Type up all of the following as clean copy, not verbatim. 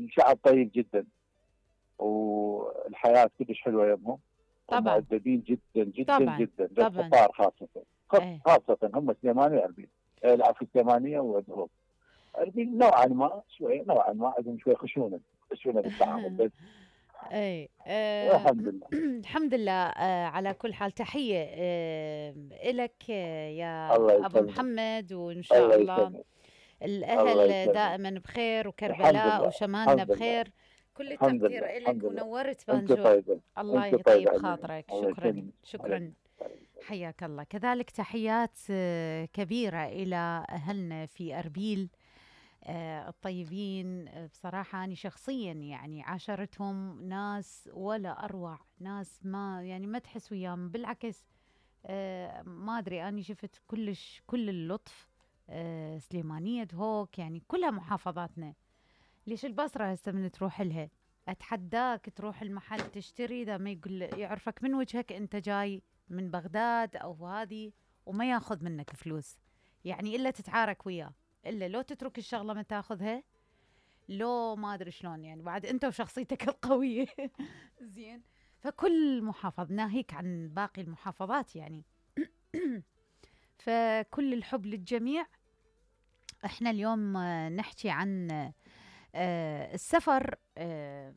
الشعب طيب جدا، والحياه كلش حلوه يمهم، طبعا. ومؤدبين جدا جدا طبعا. جدا طبعا. للقطار خاصه. ايه. خاصه هم سليمانيه واربيل. العفو، سليمانيه ودهوك. اربيل نوعا ما شوي، نوعا ما عندهم شوي خشونه بالتعامل بس. اي الحمد لله. الحمد لله. على كل حال تحية إلك يا الله أبو يسلمك. محمد، وإن الله شاء الله يسلمك. الله الأهل يسلمك. دائما بخير، الحمد وكربلاء لله. وشمالنا الحمد لله. بخير. كل الحمد التقدير لله. إلك، الحمد لله. ونورت انت بانجور. طيبه. الله انت طيبه يطيب علينا. خاطرك. الله شكرا يسلمك. شكرا. حياك الله. كذلك تحيات كبيرة إلى أهلنا في أربيل الطيبين. بصراحة أنا شخصيا يعني عاشرتهم ناس ولا أروع ناس، ما يعني ما تحس وياهم، بالعكس. ما أدري، أنا شفت كل اللطف. سليمانية هوك يعني كلها محافظاتنا. ليش البصرة هسه من تروح لها أتحداك تروح المحل تشتري، إذا ما يقول يعرفك من وجهك أنت جاي من بغداد أو هذه، وما ياخذ منك فلوس، يعني إلا تتعارك وياه، إلا لو تترك الشغلة ما تاخذها، لو ما أدري شلون، يعني بعد أنت وشخصيتك القوية. زين. فكل محافظ ناهيك عن باقي المحافظات يعني. فكل الحب للجميع. احنا اليوم نحكي عن السفر،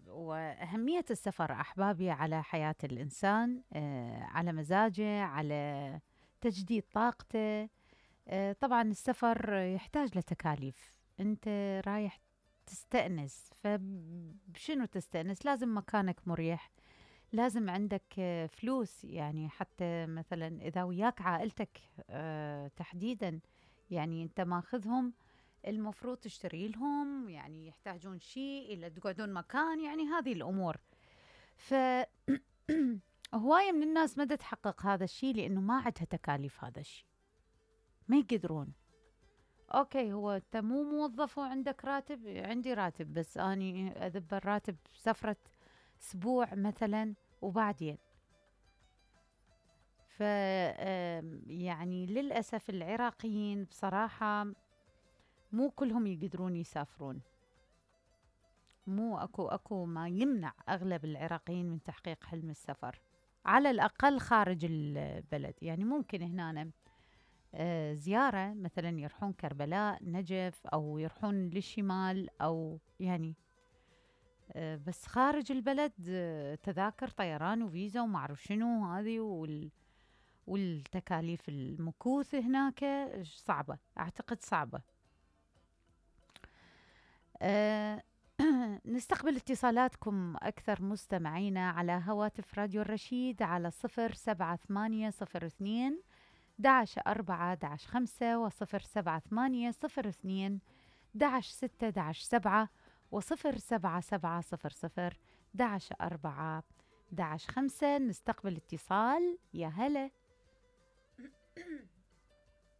وأهمية السفر أحبابي على حياة الإنسان، على مزاجه، على تجديد طاقته. طبعا السفر يحتاج لتكاليف. أنت رايح تستأنس، فبشنو تستأنس؟ لازم مكانك مريح، لازم عندك فلوس، يعني حتى مثلا إذا وياك عائلتك تحديدا، يعني أنت ماخذهم، المفروض تشتري لهم، يعني يحتاجون شيء إلا تقعدون مكان، يعني هذه الأمور. ف هواية من الناس ما تحقق هذا الشيء لأنه ما عندها تكاليف هذا الشيء، ما يقدرون. أوكي، هو أنت مو موظف وعندك راتب، عندي راتب بس أني أذب الراتب سفرة أسبوع مثلا وبعدين. ف يعني للأسف العراقيين بصراحة مو كلهم يقدرون يسافرون، مو أكو ما يمنع أغلب العراقيين من تحقيق حلم السفر، على الأقل خارج البلد. يعني ممكن هنا زيارة، مثلا يروحون كربلاء، نجف، أو يروحون للشمال، أو يعني بس خارج البلد تذاكر طيران وفيزا وما أعرف شنو هذه، والتكاليف المكوث هناك صعبة، أعتقد صعبة. نستقبل اتصالاتكم أكثر مستمعينا على هواتف راديو الرشيد على 07802 11 4 11 5 و07802 11 6 11 7 و07700 11 4 11 5. نستقبل اتصال. يا هلا.